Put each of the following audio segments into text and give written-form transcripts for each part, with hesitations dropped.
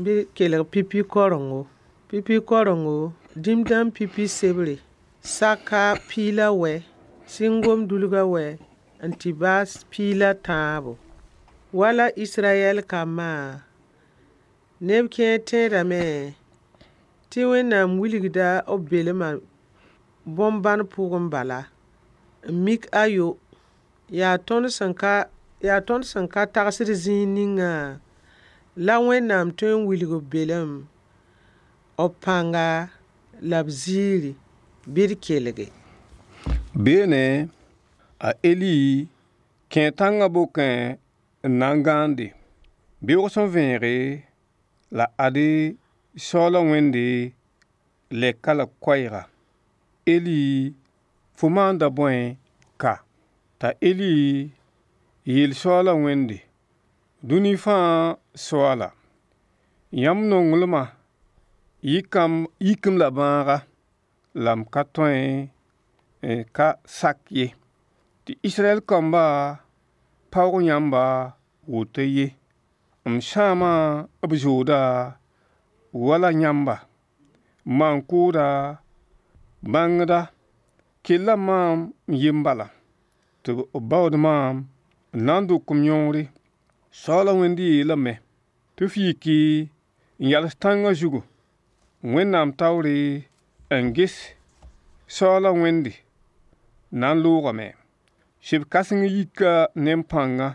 Bɩ kelg pipi korengo. Pipi korengo, dĩm dãmb pipi sebre, saka piig la wɛ, sɩngom dulga wɛ n tɩ baas piig la tãabo. Wala Israyɛl kambã, neb kẽer tẽedame tɩ Wẽnnaam wilgda b belmã bõn-bãn pʋgẽ bala n mik ayo, yaa tõnd sẽn ka yaa tõnd sẽn ka tagsd zĩig ningã la Wẽnnaam tõe n wilg b belem, b pãnga la b ziiri bɩ d kelge. Beene, a Eli kẽe tãngã bokẽ n na n gãande. Beoog sẽn vẽege, la ade Soaala Wẽnde lɛka la koɛɛga. Eli, fo maanda bõe ka? T'a Eli yeel Soaala Wẽnde, dũni fãa Soaala, yãmb nonglmã yik-m la bãaga, la m ka tõe n ka sak ye, tɩ Israyɛl kambã paoog yãmba woto ye. M sãama b zooda wala yãmba, maan-kʋʋda, bãngda, kella maam n yem bala, tɩ b baood maam n na n dʋk m yõore. Soaala Wẽnd yeelame tɩ f yiki n yals tãngã zugu Wẽnnaam taoore n ges Soaala Wẽnde na n loogame. Seb kãseng yika ne pãnga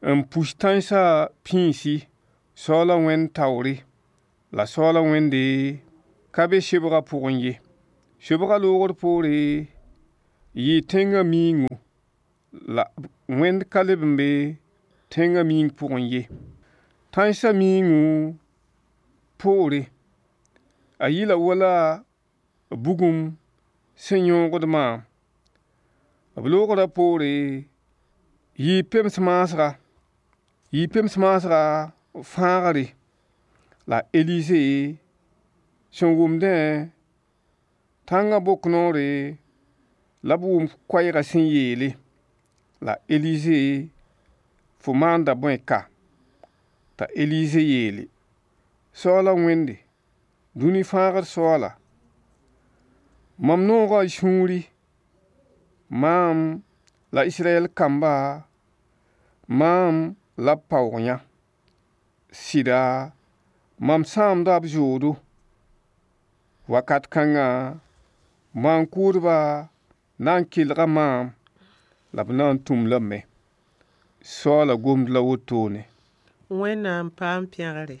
n pus tãensã pĩisi Soaala Wẽnd taoore, la Soaala Wẽnde ka be sebgã pʋgẽ ye. Sebgã loogr poore yɩɩ tẽngã miiingu, la Wẽnd ka leb n be tẽngã miing pʋgẽ ye. Tãensã miiingu poore, a yɩla wala bugum sẽn yõogd maam. B loogrã poore yɩɩ pems maasga, yɩɩ pems maasga fãagre, la Elize sẽn wʋmdẽ tãngã bok noore la b wʋm koɛɛgã sẽn yeele, la Elize fo maanda bõe ka? T'a Elize yeele, Soaala Wẽnde, dũni fãagr Soaala, mam nooga y sũuri, maam la Israyɛl kamba, maam la b paoog yã. Sɩda, mam sãamda b zoodo. Wakat kãngã, maan-kʋʋdbã na n kelga maam, la b na n tũm lame. Soaala gomd la wotone. Wẽnnaam paam pẽgre.